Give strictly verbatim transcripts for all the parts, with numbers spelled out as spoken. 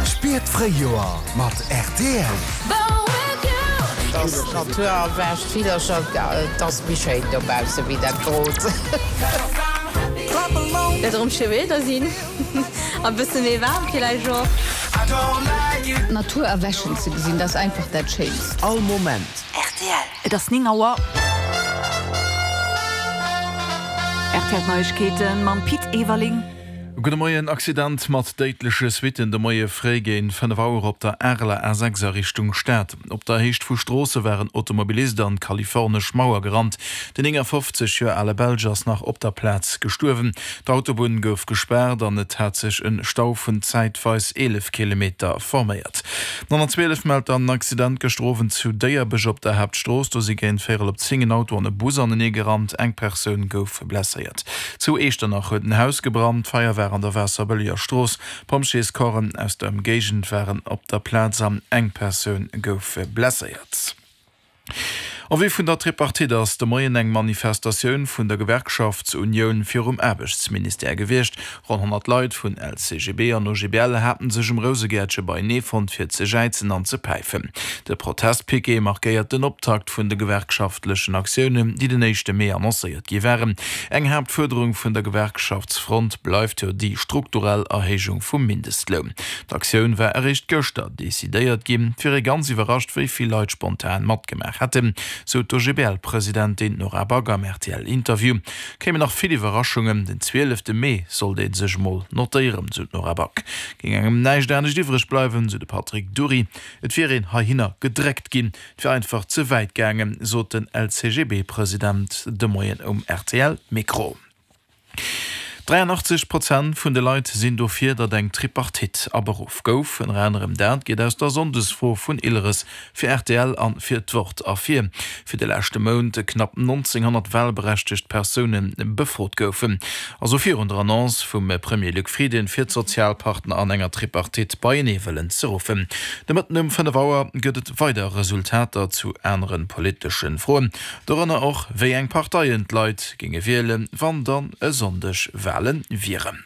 Spier d'Fréijoer mat rtl. Dass d'Natur erwächt, d'Villercher, et ass méi schéin dobausse wéi dat Grot. Wäert erëm schéi Wieder sinn a bësse méi waarm villäicht och. D'Natur erwächen ze gesinn, dat ass einfach dat Schéinst. All Moment. Rtl. Et ass néng Auer. Rtl Neiegkeete mam Pit Everling. Gudde Moien, Accident mat déidleche Suitten de Moie fréi géint fënnef Auer op der Areler A sechs a Richtung Stad. Op der Héicht vu Stroosse war en Automobilist an d'kalifornesch Mauer gerannt. Den néngafofzeg Joer ale Belsch ass nach op der Plaz gestuerwen. D'Autobunn gouf gespaart an et hat sech en Stau vun zäitweis eelef Kilometer forméiert. D'honnertzwielef mellt dann en Accident gëschter Owend zu Déierbech op der Haaptstrooss. Do si géint véierel op zéng en Auto an e Bus anenee gerannt. Eng Persoun gouf blesséiert. Zu Eechternach huet en Haus gebrannt. D'Feier war an der Waasserbëlleger Strooss. Pompjeescorpsen aus der Ëmgéigend waren op der Plaz an eng Persoun gouf blesséiert. En vue vun der Tripartite ass de Moien eng Manifestatioun vun der Gewerkschaftsunioun virum Aarbechtsministère gewiescht. Ronn honnert Leit vun L C G B an O G B L haten sech um Rousegäertche beienee fonnt fir ze jäizen an ze päifen. De Protestpiquet markéiert den Optakt vun de gewerkschaftlechen Aktiounen, déi den éischte Mee annoncéiert gi waren. Eng Haaptfuerderung vun der Gewerkschaftsfront bleift jo déi strukturell Erhéijung vum Mindestloun. D'Aktioun war eréischt gëschter decidéiert ginn. Et wier ee ganz iwwerrascht, wéi vill Leit spontan matgemaach hätten, sou d'O G B L-Presidentin Nora Back am R T L-Interview. Kéimen nach vill Iwwerraschungen, den zwielefte Mee sollt ee sech mol notéieren, sou d'Nora Back. Géing engem näischt anescht iwwreg bleiwen, sou de Patrick Dury. Et wier een heihinner gedréckt ginn, et wier einfach ze wäit gaangen, sot den L C G B-President de Moien um R T L-Mikro. dräianachtzeg Prozent vun de Leit sinn dofir, datt eng Tripartite aberuff gouf. Ënner anerem dat geet aus der Sonndesfro vun Ilres fir R T L an fir d'Wort ervir, fir de leschte Mount knapp nonzénghonnert walberechtegt Persoune befrot goufen. Also virun der Annonce vum Premier Luc Frieden, fir d'Sozialpartner an enger Tripartite beienee wëllen ze ruffen. De Mëtten um fënnef Auer gëtt et weider Resultater zu anere politesche Froen, dorënner och wéi eng Parteien d'Leit géinge wielen, wann dann e Sonndeg Walen wieren.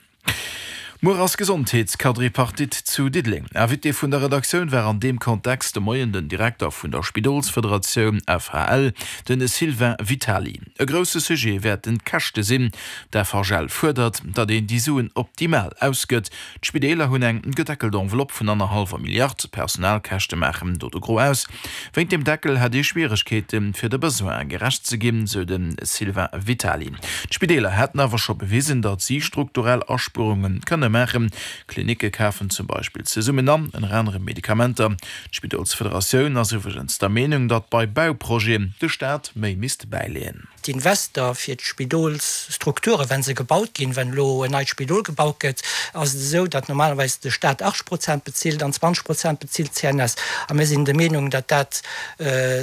Muer ass Gesondheetsquadripartite zu Diddeleng. Invité vun der Redaktioun war an deem Kontext de Moien den Direkter vun der Spidolsfederatioun F H L, den Sylvain Vitali. E grousse Sujet wäerten d'Käschte sinn. D'F H L fuerdert, datt een déi Suen optimal ausgëtt. D'Spideeler hunn eng gedeckelt Enveloppe vun annerhallwer Milliard, d'Personalkäschte maachen do de Gros aus. Wéint dem Deckel hätt ee Schwieregkeeten, fir de Besoine gerecht ze ginn, sou de Sylvain Vitali. D'Spideeler hätten awer scho bewisen, datt si strukturell Aspuerunge kënne maachen. Klinicke kafen zum Beispill zesummen an, ënner anerem Medikamenter. D'Spidolsfederatioun ass iwwregens der Meenung, datt bei Bauprojeten de Staat méi misst bäileeën. D'Invester fir d'Spidolsstrukture, wa se gebaut ginn, wann elo en neit Spidol gebaut gëtt, ass et esou, datt normalerweis de Staat achtzeg Prozent bezilt an zwanzeg Prozent bezilt d'C N S. A mir sinn der Meenung, datt dat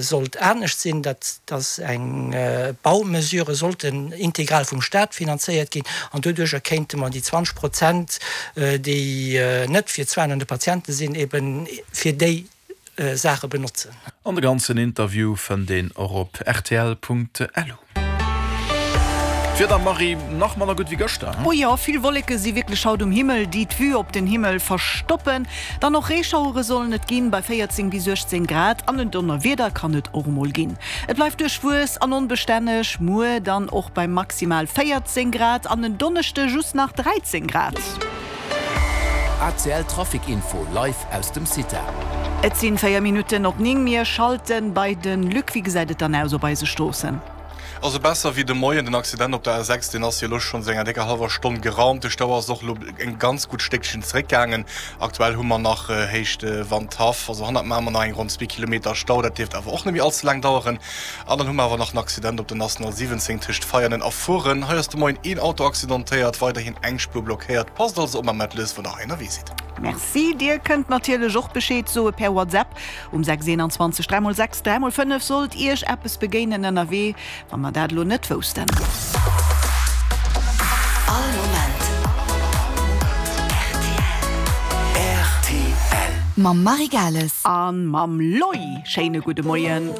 sollt anescht sinn, datt datt eng Baumesure sollten integral vum Staat finanzéiert ginn an doduercher kéinte mer déi zwanzeg Prozent, déi net fir d'Soinen un de Patiente sinn, eben fir déi Saache benotzen. An de ganzen Interview fënnt een och op rtl Punkt lu. D'Wieder, Marie, nach manner gutt wéi gëschter, Oh jo, vill Wolleke si wierklech haut um Himmel, déi d'Vue op den Himmel verstoppen. Dann och Reeschauere sollen et ginn, bei véierzéng bis uechtzéng Grad an en Donnerwieder kann et och emol ginn. Et bleift duerchwuess an onbestänneg, muer dann och bei maximal véierzéng Grad an en Donneschde just nach dräizéng Grad. A C L Trafic Info live aus dem CITA. Et sinn véier Minutten op néng, mir schalten bei den Luc. Wéi gesäit et dann aus op eise Stroossen? Also besser wéi de Moien. Den Accident op der A sechs, deen ass jo elo schonns enger décker hallwer Stonn geraumt. De Stau ass och elo en ganz gutt Stéckchen zeréckgaangen. Aktuell hu mer nach Héicht Wandhaff, also hannert Mamer nach eng ronn zwee Kilometer Stau. Dat dierft awer och net méi all ze laang daueren. An dann hu mer awer nach en Accident op der National siwwenzéng tëscht Veianen a Furen. Hei ass de Moien een Auto accidentéiert, weiderhin eng Spuer blockéiert. Passt also op mam Mettles, wann der hei ënnerwee sidd. Merci. Dir kënnt natierlech och Bescheed soe per WhatsApp um sechs eenanzwanzeg dräi mol sechs dräi mol fënnef sollt Iech eppes begéinen ënnerwee, wa mer dat elo net woussten. All Moment R T L. Mam Marie Gales. An mam Loy. Schéine gudde Moien.